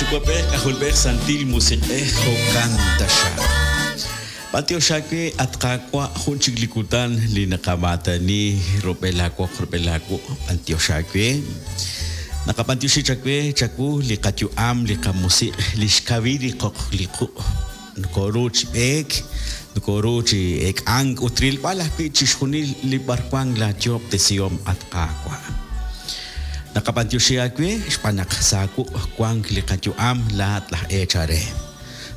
Yuwa'b'ej, K'ajolb'ej, Santil Musiq'ej, jo'kan taxaq. B'antiox aawe, at Qaawa', jun chik li kutan li naqamaatani rub'el aawoq rub'el aawuq'. B'antiox aawe. Naqab'antioxi chawe, chawu, li qayu'am, li qamusiq', lix kawil li qoq li quq'. Nokoru chi b'eek, nokoru chi eek'ank ut rilb'al ajwi' chixjunil li b'arwan laa yo'ob'tesihom, at Qaawa'. Naqab'antioxi aawe xb'aan naq sa' aawuq' wank li qayu'am laa'at laj eechal re.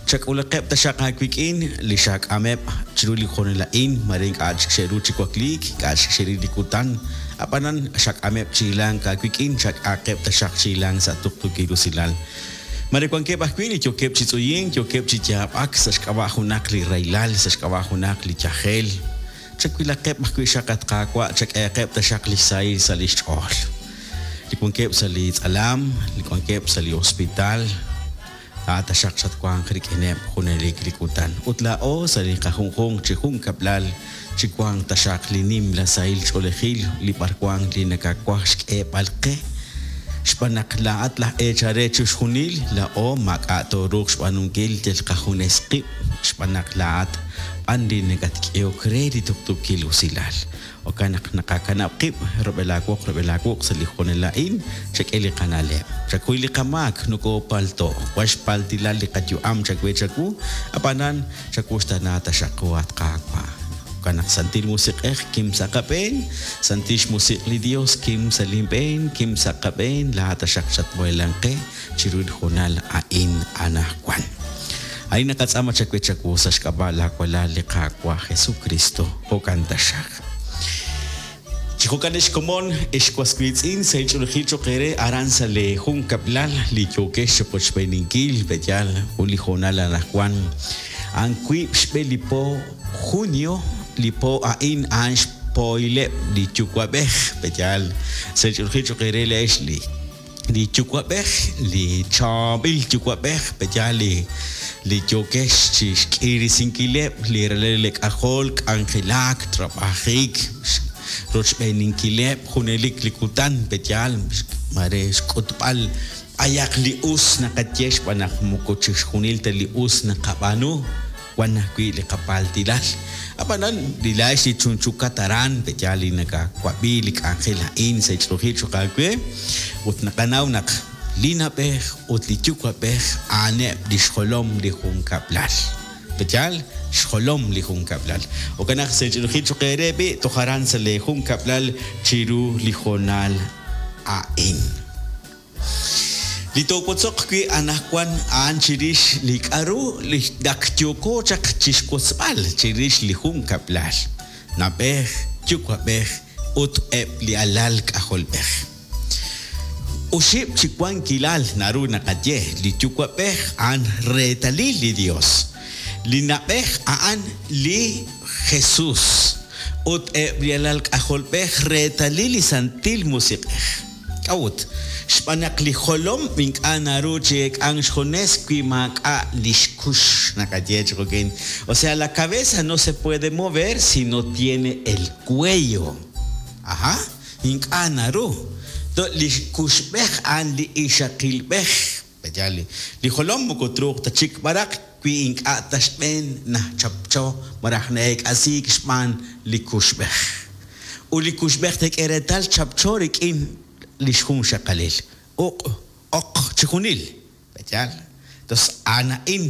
Chak'ulaqeb' taxaq aawik'in li xaak'ameb' chiru li hoonal a'in, mare ink'a' chik xe'ru chi wakliik, ink'a' chik xe'ril li kutan, ab'anan xak'ameb' chi hilank aawik'in, chak'aaqeb' taxaq chi hilank sa' tuqtuukil usilal. Mare wankeb' ajwi' li yookeb' chi tz'uyink, yookeb' chi yaab'ak sa' xk'ab'a' junaq li rahilal, sa' xk'ab'a' junaq li yajel. Chawilaqeb' ajwi' xaq, at Qaawa', chak'ehaqeb' taxaq li xsahil sa' li xch'ool. Li wankeb' sa' li tz'alam, li wankeb' sa' li hospital, Laa'at taxaq xatwanq rik'ineb' junelik li kutan. Ut laa'o sa' li qajunjunq chi junkab'lal chiwanq taxaq li nimla sahil ch'oolejil li b'arwan li nakawaj xk'eeb'al qe. Xb'aan naq laa'at laj eechal re chixjunil, laa'o maak'a' tooruuq xb'aanunkil yal qajunes qib' xb'aan naq laa'at b'an li nakatk'ehok re li tuqtuukil usilal. Jo'kan naq naqakanab' qib' rub'el aawoq rub'el aawuq' sa' li hoonal a'in, chak'e li qana'leb'. Chakuy li qamaak, nokoopalto', wan xpaltilal li qayu'am chawe chawu, ab'anan chawuxtaana taxaq qu, at Qaawa'. Jo'kan naq Santil Musiq'ej, kim sa' qab'een, Santil xMusiq' li Dios, kim sa' linb'een, kim sa' qab'een, laa'at taxaq chatmuheelanq qe chiru li hoonal a'in anajwan. A'in naqatz'aama chawe chawu sa' xk'ab'a' laa Walal li Qaawa' Jesukristo. Jo'kan taxaq. Chi jo'kan ex komon, ex was wiitz'in, sahil ch'oolejil cho'q eere aran sa' lee junkab'lal li yookex chiqochb'eeninkil, pe'yaal jun li hoonal anajwan. A'an wiib' xb'e li po junio, li po a'in a'an xpohileb' li yuwa'b'ej, pe'yaal sahil ch'oolejil cho'q eere laa'ex li li yuwa'b'ej, li chaab'il yuwa'b'ej, pe'yaal li li yookex chi xk'iirisinkileb' li ralal li k'ajol, k'anjelak, trab'ajik, rochb'eeninkileb' junelik li kutan, pe'yaal mare xk'utb'al b'ayaq li us naqaye xb'aan naq moko chixjunil ta li us naqab'aanu. Wan ajwi' li qapaaltilal. Ab'anan, li laa'ex li chunchukat aran, pe'yaal li nakawab'i li k'anjel a'in sa' ch'oojil cho'q aawe? Ut naqanaw naq li na'b'ej ut li yuwa'b'ej a'aneb' li xjolom li junkab'lal. Pe'yaal? Xjolom li junkab'lal. Jo'kan naq sa' ch'oojil cho'q eere b'i' toj aran sa' leejunkab'lal chiru li hoonal a'in. Li toowotzoq wi' anajwan a'an chirix li k'a'ru li naq yooko chaq chixwotzb'al chirix li junkab'lal, na'b'ej, yuwa'b'ej, ut eb' li alal k'ajolb'ej. Oxib' chi wankilal naru naqaye, li yuwa'b'ej a'an reetalil li Dios, li na'b'ej a'an li Jesus, ut eb' li alal k'ajolb'ej reetalil li Santil Musiq'ej. K'a'ut? Xb'aan naq li jolom ink'a' naru chi eek'ank xjunes wi maak'a' li xkux, naqaye chi jo'kin. O sea, la cabeza no se puede mover si no tiene el cuello. Aha, ink'a' naru. Li kuxb'ej a'an li ixaqilb'ej. Pe'yaal li jolom moko truuq ta chik b'araq wi ink'a' ta xb'een nachapcho malaj na'eek'asiik xb'aan li kuxb'ej. Ut li kuxb'ej teek'e reetal chapcho rik'in li xjunxaqalil, uq', oq, chijunil. Pe'yaal? Tos a'an a'in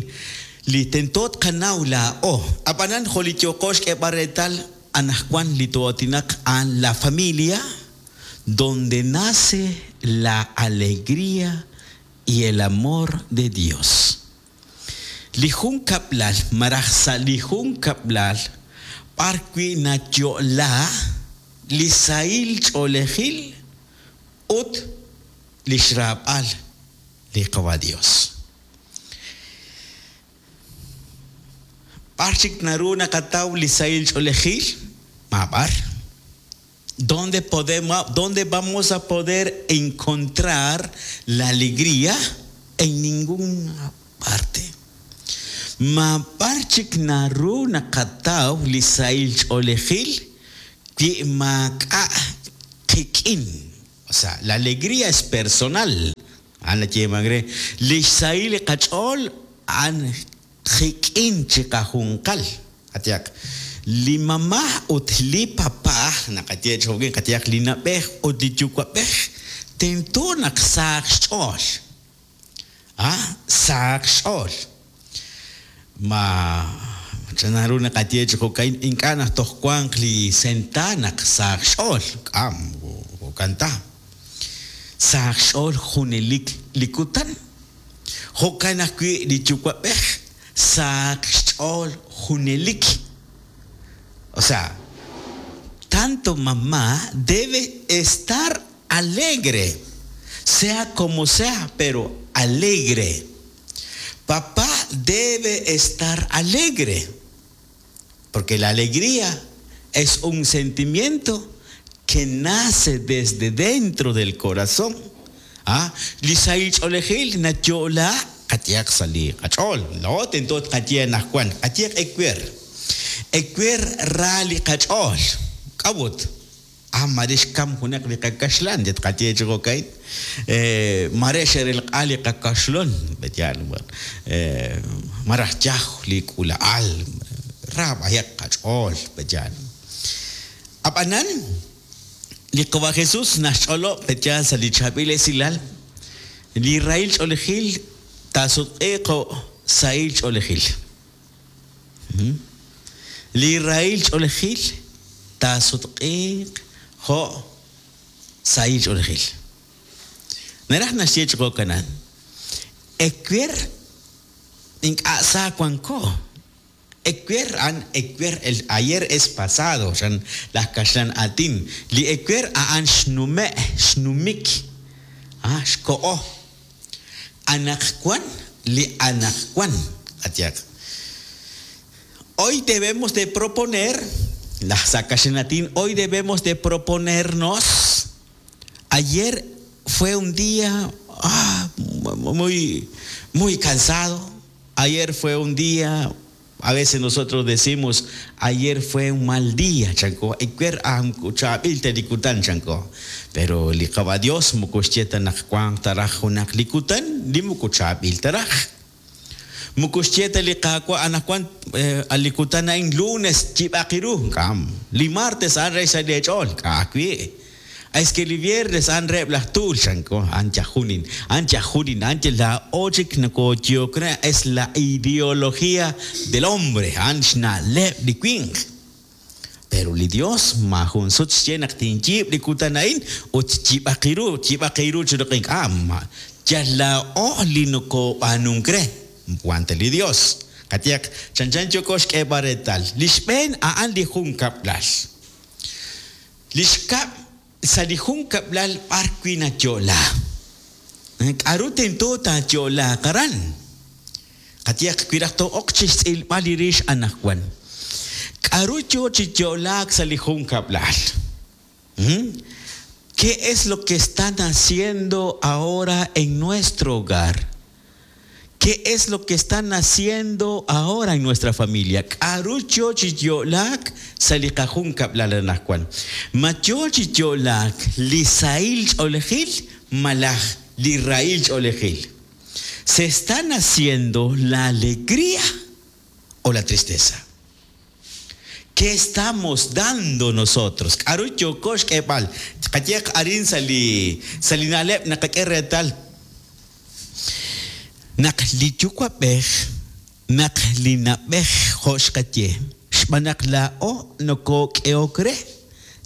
li tento tqanaw laa'o. Ab'anan jo' li yooqo xk'eeb'al reetal anajwan li too'aatinaq a'an la familia, donde nace la alegría y el amor de Dios. Li junkab'lal malaj sa' li junkab'lal b'ar wi' nayo'la li sahil ch'oolejil ut li xraab'al li Qawa' Dios. B'ar chik naru naqataw li sahil ch'oolejil? Maab'ar. ¿Dónde podemos, dónde vamos a poder encontrar la alegría? En ninguna parte. Maab'ar chik naru naqataw li sahil ch'oolejil wi maak'a' qik'in. O sea, la alegría es personal. A'an nayeemank re, li xsahil li qach'ool a'an qik'in chiqajunqal. Qayehaq, li mama ut li papa, naqaye chi jo'kan, qayehaq li na'b'ej ut li yuwa'b'ej, tento naq sahaq xch'ool. A, sahaq xch'ool. Ma chan ru naqaye chi jo'ka'in, ink'a' naq toj wanq li senta naq sahaq xch'ool. K'a' moko jo'kan ta. Sahaq xch'ool junelik li kutan. Jo'kan ajwi' li yuwa'b'ej sahaq xch'ool junelik. O sea, tanto mamá debe estar alegre, sea como sea, pero alegre. Papá debe estar alegre, porque la alegría es un sentimiento que nace desde dentro del corazón. Ah, li sahil ch'oolejil nayo'la qayehaq sa' li qach'ool. Laa'o tento tqaye anaqwan, qayehaq ewer. Ewer ra li qach'ool. K'a'ut? Ah, mare xkam junaq li qakaxlan, ya tqaye chi jo'ka'in. Mare xe'relq'a li qakaxlon, pe'yaal, malaj yaj li k'uula'al, ra b'ayaq qach'ool, pe'yaal. Ab'anan, li Qawa' Jesus naxch'olob' pe'yaal sa' li chaab'il esilal, li rahil ch'oolejil taasutq'iiq jo' sahil ch'oolejil. Li rahil ch'oolejil taasutq'iiq jo' sahil ch'oolejil. Naraj naxye chi jo'kanan, ewer ink'a' sa wanko. Ewer a'an ewer, el ayer es pasado, chan laj kaxlan aatin. Li ewer a'an xnume', xnumik, xkoho. Anaqwan li anaqwan, qayehaq. Hoy debemos de proponer, laj sa' kaxlan aatin, hoy debemos de proponernos, ayer fue un día muy, muy cansado, ayer fue un día, a veces nosotros decimos, ayer fue un mal día, chanko, ewer chaab'il ta li kutan, chanko. Pero li Qawa' Dios moko xye ta naq wanq ta raj junaq li kutan li moko chaab'il ta raj. Moko xye ta li Qaawa' anaqwan li kutan a'in lunes yib'aq ru, k'am. Li martes a'an re xsahil eech'ool, k'a' ajwi'. Es que li viernes a'an reheb' laj tuul, chanko, a'an yajunin, a'an yajunin, a'an yal laa'o chik nokoyehok re, es la ideología del hombre, a'an xna'leb' li winq. Pero li Dios maajun sut xye naq tinyiib' li kutan a'in ut yib'aq ru, yib'aq ru chiru ink'a', yal laa'o li nokob'aanunk re, wan ta li Dios. Qayehaq, chanchan yooko xk'eeb'al reetal, li xb'een a'an li junkab'lal. Li xkab', sa' li junkab'lal b'ar wi' nayo'la. K'a'ru tento taayo'laaq aran? Qayehaq, wi raj too'ok chixtz'ilb'al li rix anaqwan, k'a'ru yoo chi yo'laak sa' li junkab'lal? ¿Qué es lo que está naciendo ahora en nuestro hogar? ¿Qué es lo que está naciendo ahora en nuestra familia? K'a'ru yoo chi yo'laak sa' li qajunkab'lal anaqwan? Ma yoo chi yo'laak li sahil ch'oolejil malaj li rahil ch'oolejil? ¿Se está naciendo la alegría o la tristeza? ¿Qué estamos dando nosotros? K'a'ru yooko xk'eeb'al? Qayehaq arin sa' li sa' li na'leb' naqak'e reetal naq li yuwa'b'ej, naq li na'b'ej jo' xqaye, xb'aan naq laa'o nokook'ehok re,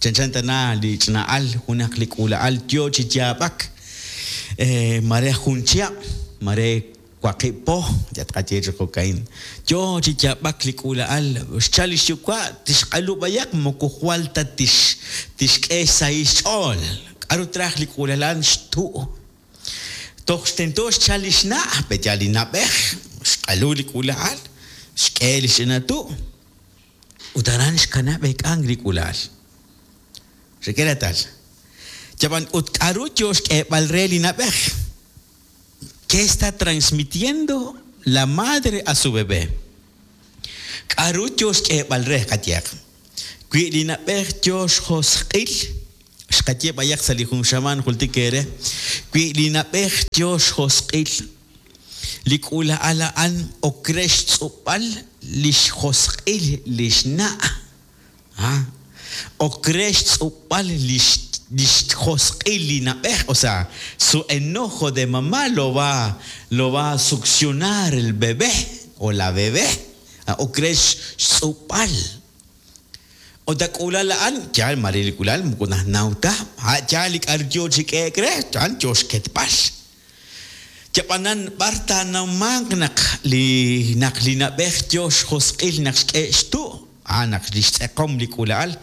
chanchan tana li ch'ina'al junaq li k'uula'al yoo chi yaab'ak, mare jun chihab', mare waqib' po, ya tqaye chi jo'ka'in, yoo chi yaab'ak li k'uula'al, xchal li xyuwa' tixq'alu b'ayaq moko jwal ta tix tixk'e xsahil xch'ool, k'a'ru traj li k'uula'al xtu'. Toj tento xchal li xna', pe'yaal li na'b'ej, xq'alu li k'uula'al, xk'e li xch'ina tu', ut aran xkanab' eek'ank li k'uula'al. Xek'e reetal. Yab'an ut k'a'ru yoo xk'eeb'al re li na'b'ej? ¿Qué está transmitiendo la madre a su bebé? K'a'ru yoo xk'eeb'al re qayehaq? Wi li na'b'ej yoo xjosq'il, Xqaye b'ayaq sa' li jun xamaan jultik eere, wi li na'b'ej yo xjosq'il, li k'uula'al a'an ok re xtz'ub'al li xjosq'il li xna'. Ok re xtz'ub'al li xjosq'il li na'b'ej, o sea, su enojo de mamá lo va lo va a succionar el bebé o la bebé. Ok re xtz'ub'al. Ut a k'uula'al a'an, yaal maare li k'uula'al moko najnaw ta, a' yaal li k'a'ru yoo chi k'ehe'k re, a'an yoo xketb'al. Yab'anan b'ar taanawmanq naq li naq li na'b'ej yoo xjosq'il naq xk'e xtu', a'an naq lix tz'eqom li k'uula'al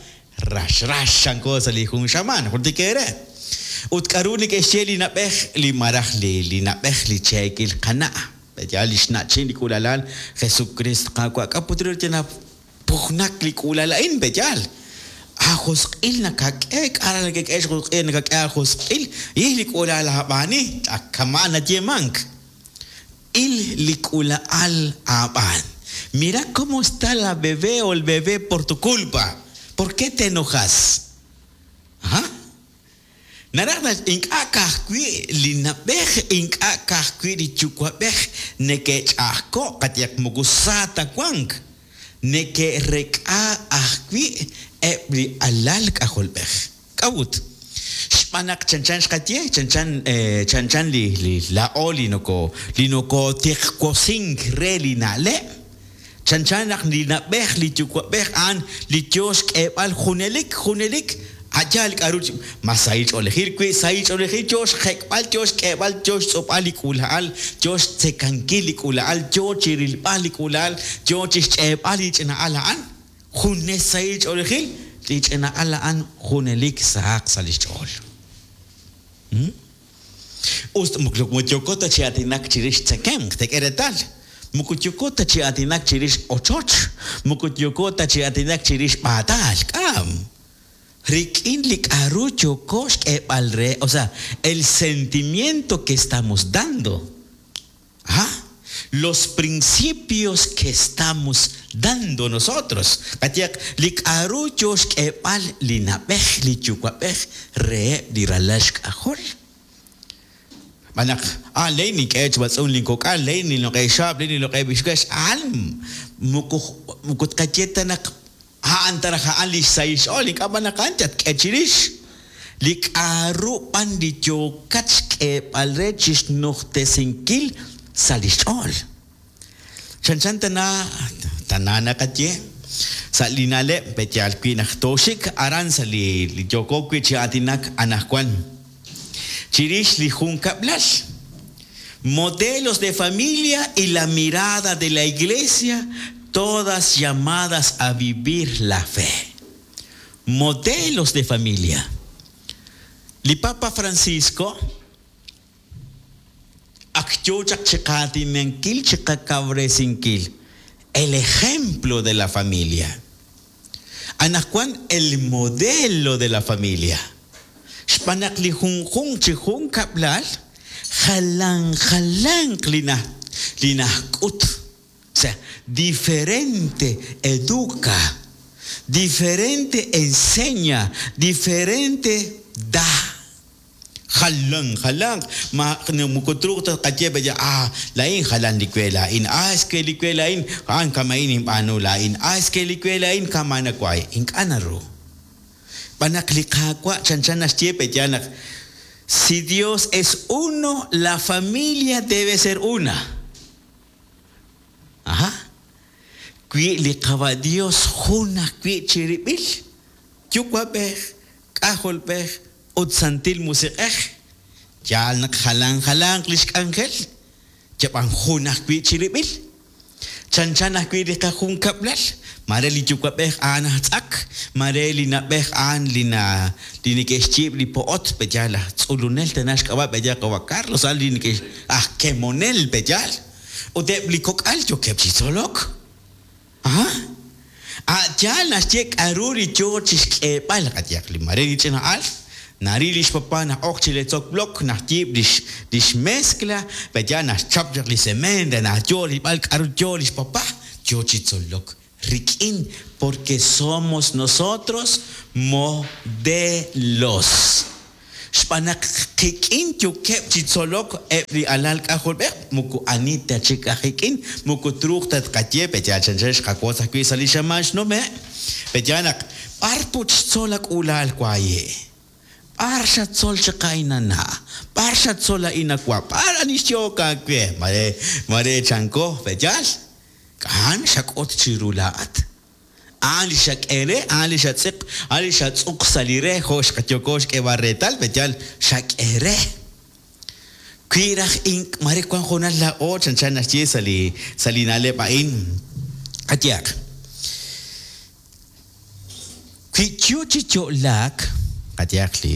rax rax chanko sa' li jun xamaan, jultik eere. Ut k'a'ru neke'xye li na'b'ej li malaj li li na'b'ej li cheekil qana', yaal lix na'chin li k'uula'al, Jesukriist Qaawa', k'a' put ru yal Pujnak li k'uula'al a'in, pe' yaal? Aajosq'il nakak'e, k'a' raj nakak'e xjosq'il, nakak'e aajosq'il, il li k'uula'al aab'aani, ak kama'an nayeemank. Il li k'uula'al aab'aan. Mira cómo está la bebé o el bebé por tu culpa. ¿Por qué te enojas? Ajá. Naraj naq ink'a' ka'ajwi' li na'b'ej, ink'a' ka'ajwi' li yuwa'b'ej neke'ch'a'ajko'k, qayehaq moko sa ta wank, neke'rek'a ajwi' eb' li alal k'ajolb'ej. K'a'ut? Xb'aan naq chanchan xqaye, chanchan chanchan li li laa'o li noko li nokootiqwosink re li na'leb', Chanchan naq li na'b'ej li yuwa'b'ej a'an li yoo xk'eeb'al junelik junelik a' yaal k'a'ru chi ma sahil ch'oolejil wi sahil ch'oolejil yoo xjek'b'al yoo xk'eeb'al yoo xtz'ub'al li k'uula'al yoo xtzekankil li k'uula'al yoo chi rilb'al li k'uula'al yoo chi xch'eeb'al li ch'ina'al a'an junes sahil ch'oolejil li ch'ina'al a'an junelik sahaq sa' li xch'ool. Us ta moko yooko ta chi aatinak chirix tzekemq, teek'e reetal, moko yooko ta chi aatinak chirix ochoch, moko yooko ta chi aatinak chirix b'aataal, k'am. Rik'in li k'a'ru yooko xk'eeb'al re, o sea, el sentimiento que estamos dando. Ajá, los principios que estamos dando nosotros. Qayehaq, li k'a'ru yoo xk'eeb'al li na'b'ej, li yuwa'b'ej reheb' li ralal xk'ajol. Xb'aan naq, ah, len nink'e chi b'atz'unk lin kok'al, len ninloq'e xaab', len ninloq'e b'ixwex, a'an moko moko tqaye ta naq A'an ta raj a'an li xsahil xch'ool, ink'a' b'an naq a'an tatk'e chirix. Li k'a'ru b'an li yookat xk'eeb'al re chixnujtesinkil sa' li xch'ool. Chanchan tana, tana naqaye, sa' li na'leb' pe' yaal wi' naq tooxik aran sa' li li yooko wi' chi aatinak anajwan chirix li junkab'lal. Modelos de familia y la mirada de la Iglesia, todas llamadas a vivir la fe. Modelos de familia. Li Papa Francisco ak yoo chaq chiqaatinankil, chiqakawresinkil el ejemplo de la familia. Anaqwan el modelo de la familia. Xb'aan naq li junjunq chi junkab'lal jalan jalanq li na li najk'ut, o sea, diferente educa, diferente enseña, diferente da. Jalan jalanq, ma moko truuq ta tqaye b'aya, ah, laa'in jalan li we laa'in, ah, es que li we laa'in, a'an kama'in ninb'aanu laa'in, ah, es que li we laa'in kama' nawaj. Ink'a' naru. Xb'aan naq li Qaawa' chanchan naxye pe'yaal naq si Dios es uno, la familia debe ser una. Ajá. Wi li Qawa' Dios jun ajwi' chirib'il, Yuwa'b'ej, K'ajolb'ej, ut Santil Musiq'ej, yaal naq jalan jalanq lix k'anjel, yab'an jun ajwi' chirib'il. Chanchan ajwi' li qajunkab'lal, maare li yuwa'b'ej a'an aj tz'ak, maare li na'b'ej a'an li na li neke'xyiib' li po'ot, pe'yaal aj tz'ulunel tana xk'ab'a' pe'yaal qawa' Carlos, a'an li neke'x aj kemonel pe'yaal. Ut eb' li kok'al yookeb' chi tzolok. Aha. A' yaal naxye k'a'ru li yoo chixk'eeb'al, qayehaq li maare li ch'ina al, naril lix papá na'ok chi letzok blok, naxyiib' lix lix mezcla, pe'yaal naxchap chaq li cement re naq yoo rilb'al k'a'ru yoo lix papá, yoo chi tzolok Rik'in porque somos nosotros modelos. Xb'aan naq qik'in yookeb' chi tzolok eb' li alal k'ajolb'ej, moko ani ta chik aj ik'in, moko truuq ta tqaye, pe'yaal chanchan xqawotz ajwi' sa' li xamaan xnume', pe'yaal naq b'ar put xtzol a k'uula'al waaye'? B'ar xatzol chaq a'in a na'? B'ar xatzol a'in a wa'? B'ar ani xyehok aawe? Mare, mare chanko, pe'yaal? A'an xak'ut chiru laa'at. A'an li xak'e re, a'an li xatz'iq, a'an li xatz'uq sa' li re, jo' xqayoko xk'eeb'al reetal, pe'yaal xak'e re. Wi raj ink' mare wan hoonal laa'o chanchan naxye sa' li sa' li na'leb' a'in, qayehaq, wi yo chi yo'laak, qayehaq li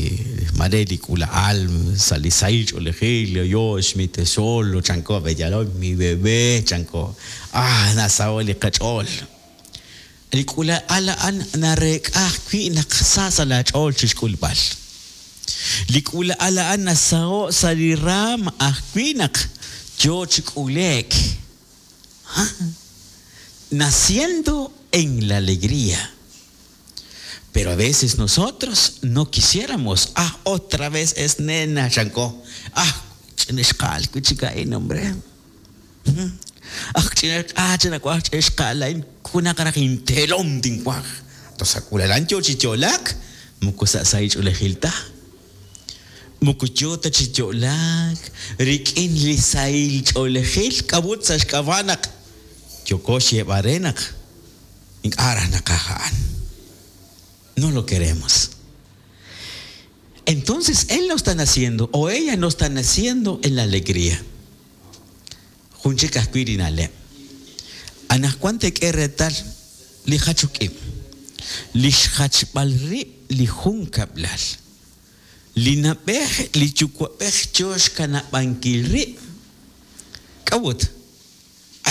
mare li k'uula'al sa' li sahil ch'oolejil, yo xmitexol, chanko, pe'yaal, mi bebé, chanko, ah nasaho' li qach'ool. Li k'uula'al a'an nareek'a ajwi' naq sa sa' laach'ool chi xk'ulb'al. Li k'uula'al a'an nasaho' sa' li raam ajwi' naq yoo chi k'ule'k. Naciendo en la alegría. Pero a veces nosotros no quisiéramos, ah, otra vez es nena, chanko, ah, ch'ina xqa'al wi' chik a'in, hombre. Aj ch'ina ah, ch'ina waj ch'ina xqa'al a'in, junaq raj inteelom tinwaj. Toj sa' k'uulalan yoo chi yo'laak, moko sa' sahil ch'oolejil ta. Moko yoo ta chi yo'laak rik'in li sahil ch'oolejil, k'a'ut sa' xk'ab'a' naq yooko xyeeb'al re naq ink'a' raj naqaj a'an. No lo queremos. Entonces él no está naciendo o ella no está naciendo en la alegría. Jun chik ajwi' li na'leb'. Anaqwan teek'e reetal li jachok ib', li xjachb'al rib' li junkab'lal. Li na'b'ej li yuwa'b'ej yo xkanab'ankil rib'. K'a'ut?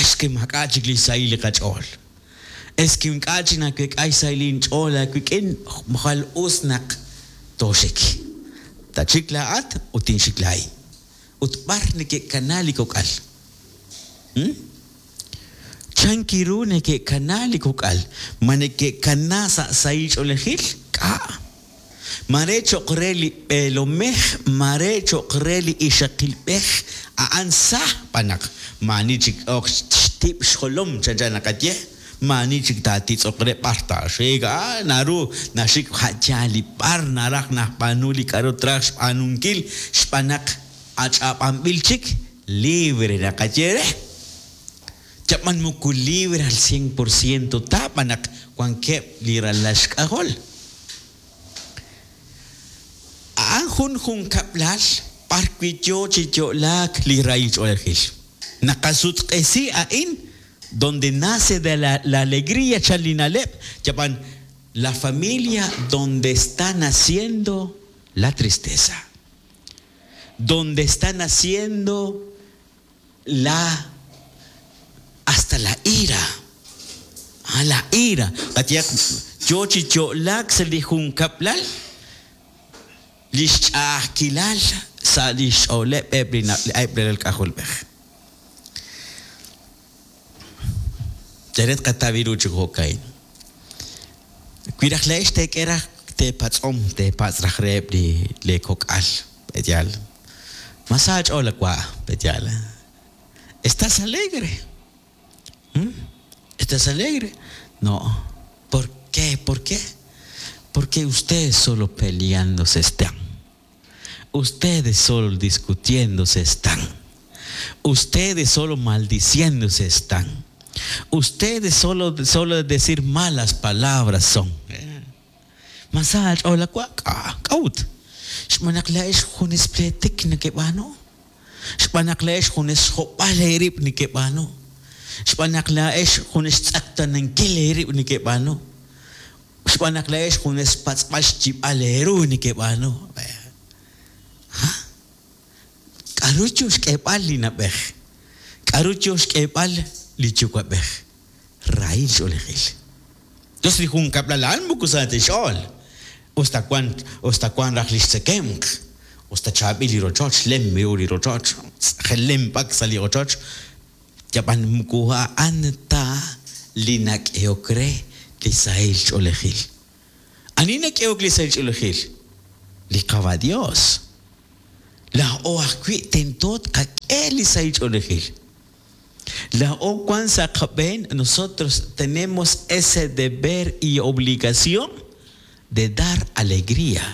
Es que maak'a' chik li xsahil li qach'ool. Es que ink'a' chik naweek'a xsahil inch'ool aawik'in, jwal us naq tooxik. Tatxik laa'at ut tinxik laa'in. Ut b'ar neke'kana li kok'al? Hm? Chan ru neke'kana li kok'al? Ma neke'kana sa' sahil ch'oolejil? K'a'. Mare cho'q re li b'eelomej, mare cho'q re li ixaqilb'ej, a'an sa b'an naq maa'ani chik ok xtib' xjolom chanchan naqaye, maa'ani chik taatitz'oq re b'ar taaxik, a naru naxik a' yaal li b'ar naraj najb'aanu li k'a'ru traj xb'aanunkil xb'aan naq ach'ab'anb'il chik, libre naqaye re. Yab'an moko libre al cien por ciento ta b'an naq wankeb' li ralal xk'ajol. A'an jun junkab'lal b'ar wi' yoo chi yo'laak li rahil ch'oolejil. Naqasutq'esi a'in donde nace de la la alegría chan li na'leb', yab'an la familia donde está naciendo la tristeza, donde está naciendo la hasta la ira. Ah, la ira. Qayehaq yoo chi yo'laak sa' li junkab'lal li xch'a'ajkilal sa' li xch'ooleb' eb' li eb' li ralal k'ajolb'ej. Yal re tqataw ru chi jo'ka'in. Wi raj laa'ex teek'e raj teepatz'om, teepatz' raj reheb' li lee kok'al, pe'yaal? Ma sa aach'ool a wa', pe'yaal? ¿Estás alegre? ¿Mm? ¿Estás alegre? No. ¿Por qué? ¿Por qué? Porque ustedes solo peleándose están. Ustedes solo discutiéndose están. Ustedes solo maldiciéndose están. Ustedes solo, solo decir malas palabras son. Ma sa aach'ool a wa'? K'a', k'a'ut? Xb'aan naq laa'ex junes pleetik nekeb'aanu. Xb'aan naq laa'ex junes xjob'al eerib' nekeb'aanu. Xb'aan naq laa'ex junes xtz'eqtaanankil eerib' nekeb'aanu. Xb'aan naq laa'ex junes xpatz'b'al xyib'al eeru nekeb'aanu. Ha? K'aru yo xk'eeb'al li na'b'ej? K'aru yo xk'eeb'al li yuwa'b'ej? Rahil ch'oolejil. Yos li junkab'lal a'an moko sa ta xch'ool. Us ta wan, us ta wan raj li xtzekemq, us ta chaab'il li rochoch, lem ru li rochoch, tz'ajelem b'ak sa' li ochoch, yab'an moko a'an ta li nak'ehok re li sahil ch'oolejil. Ani nak'ehok li sahil ch'oolejil? Li Qawa' Dios. Laa'o ajwi' tento tqak'e li sahil ch'oolejil. Laa'o wan sa' qab'een, nosotros tenemos ese deber y obligación de dar alegría.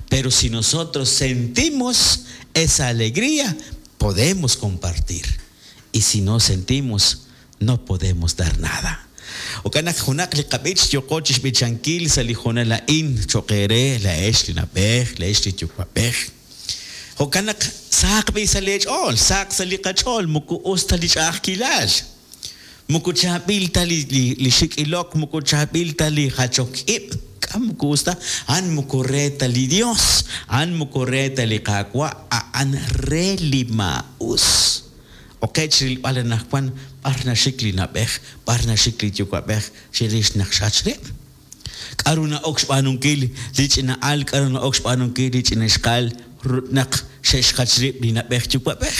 Pero si nosotros sentimos esa alegría, podemos compartir. Y si no sentimos, no podemos dar nada. Jo'kan naq junaq li qab'ich yooqo chixb'ichankil sa' li hoonal a'in cho'q eere laa'ex li na'b'ej, laa'ex li yuwa'b'ej. Jo'kan naq sahaq b'i' sa' leech'ool, sahaq sa' li qach'ool, moko us ta li ch'a'ajkilal. Moko chaab'il ta li li xik' ilok, moko chaab'il ta li jachok ib', k'a moko us ta, a'an moko re ta li Dios, a'an moko re ta li Qaawa', a'an re li maa'us. Oqe chirilb'al anaqwan b'ar naxik li na'b'ej, b'ar naxik li yuwa'b'ej chirix naq xjach rib'. K'aru na'ok xb'aanunkil li ch'ina'al, k'aru na'ok xb'aanunkil li ch'ina ixqa'al naq xe'xjach rib' li na'b'ej yuwa'b'ej?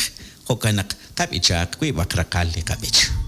Jo'kan naq qab'ichaq wiib'aq raqal li qab'ich.